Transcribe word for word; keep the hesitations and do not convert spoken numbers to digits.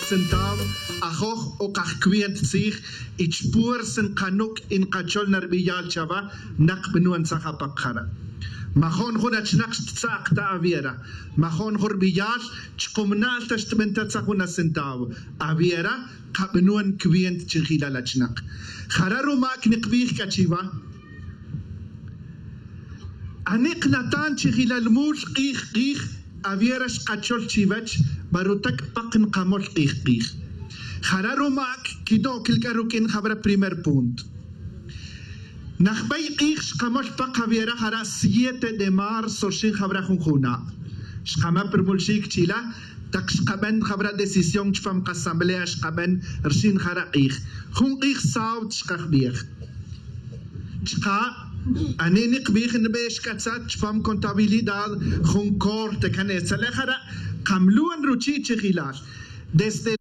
Centavo ajoj o kajcuent tzij y chpuersa nkanuc' y nkachol na rbiyal chawa. Nak bnuan tzaj apak jara'. Majo'n jun achnak xttza'ak ta awiera. Majo'n jun rbiyal chkumna'l ta xtbenta tzaj jun acentavo. Awiera kabnuan cuent chijilal achnak. Jara' rumac nikbij c'a chiwa. Ani knatan chijilal mul k'ij k'ij. Awiera xkachol chiwech. Barutac pak nkamol k'ij k'ij. Jara' rumac quino'quil c'a ruq'uin jawra primer punto. Najbey k'ij xkamol pak awiera jara' siete de marzo rxin jawra jun juna'. Xkama' prmulxic chila' tak xkaben jawra decisión chupam kasamblea xkaben rxin jara' k'ij. Jun k'ij saut xkajbej. Chka' ani nikbij nbex c'a tzat chupam contabilidad jun corte can etzalej jara' kamluan ruchi' chijilal. Desde